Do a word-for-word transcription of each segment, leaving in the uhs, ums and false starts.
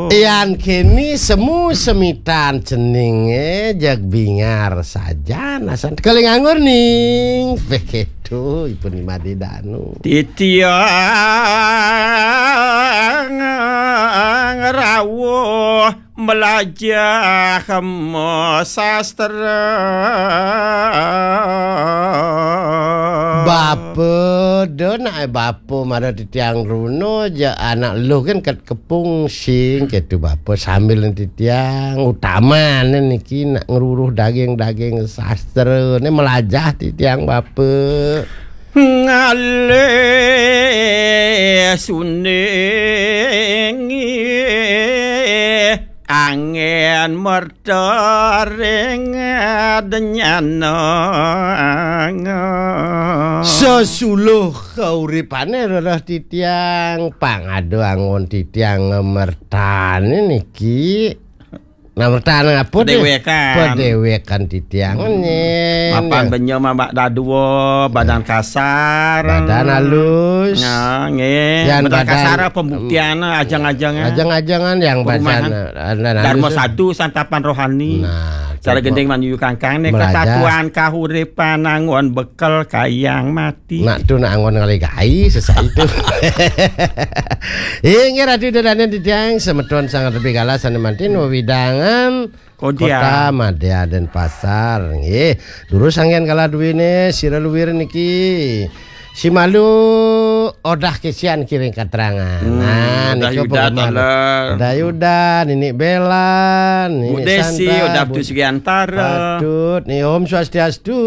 Yan kini semu semitan ceninge, jeg bingar saja nasan kali nganggur ning. Begitu, ipun Imadi Danu. Titiang rawuh melajah sastra. Bapa, do nak bapa mara titiang runo ja anak lu kan kat kepung sing ketu bapa sambil titiang utama niki nak ngeruruh daging-daging sastra ni melajah titiang bapa. Ngalih suning angin merta ring denyana. Sesuluh kauripane rereh titiang, pang ada anggon titiang mertane niki. Nah, mertane apa deh? Pedewekan. Pedewekan titiang nyen. Mapan benya mabak dadua, badan kasar. Badan halus. Nah, nggih. Yan badan kasar pembuktian, ajang-ajangan. Ajang-ajangan yang badan, badan halus. Dharma satu santapan rohani. Nah, cara gending manuyu kangkang ni melajah. Kesatuan kahuripan anggon bekel kayang mati. Nak tu nak anggon ngalih gai sesai tu. Inggih Ratu Ida Dané titiang semeton sanget lebih galah sané mantin wewidangan Kodia. Kota Madya Denpasar. Nggih, durus anggén galah duwine sira luwir niki. Simalu Odah Kesian kiring keterangan. Hmm, nah, Odah nika Yuda penggemar. Taler. Odah Yuda, Nini Belan, Bu Nini Desi, Santa, Odah Bu Putu Sugiantara. Patut, ni Om Swastiastu.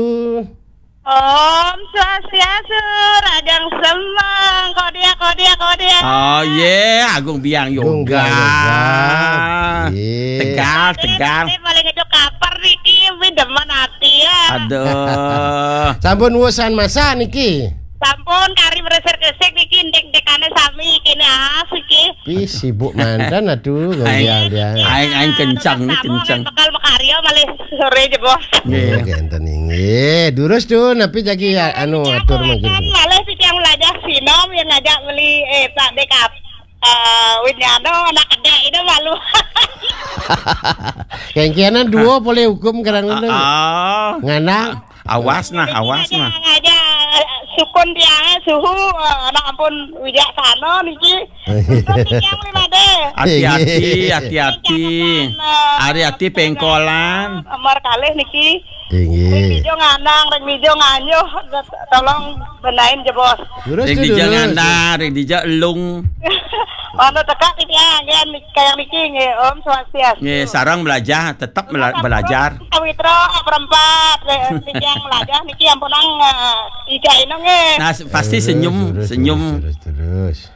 Om Swastiastu, Ragang Semeng, Kodia, Kodia, Kodia. Oh, ye, Agung Biang Agung Yoga. Biang Yoga. Ye. Tegal, Ini tegal. Tadi paling itu kaper niki, wi demen ati ya. Aduh. Sampun wusan masak niki. Sampun kari meresir kesik niki, ndek-ndekane sami kene as iki. Pi sibuk mantan atuh, Hai. Goyang dia. Aing, aing kencang ni, Sama kencang. Kan bakal makarya malih sore je, Bos. Nggih. Nggih, enten inggih. Durus tuh, napi jagi ya, anu, atur mungkin. Kan malih si tiang lajah sinom yang ngajak beli, eh, Pak Dekap. Eh, Winyano, anak kedek itu malu. Kengkianan dua boleh hukum kerang ngono. Ah, ah. Ngana. Awas nah, awas nah. Ngajak, ngajak sukun tiangnya suhu, eh, anak ampun wijaksana niki. Sukun tiang lima deh. Hati-hati, hati-hati. Ari hati pengkolan. Nomor kalih niki. Inggih. Ring Dijo ngandang, ring Dijo nganyuh, tolong benain je, Bos. Lurus Ring tu, Dijo lurus. Ngandang, ring Dijo elung. Mana tekak niki ya, nggih, kayak niki, nggih, Om Swastiastu. Nggih, sarang belajar, tetap bela-, belajar. Pawitra perempat, eh, niki yang belajar, niki ampunang, eh, ija ino, nggih. Nah, se-, pasti Lurus, senyum, lurus, senyum. Lurus, lurus, lurus.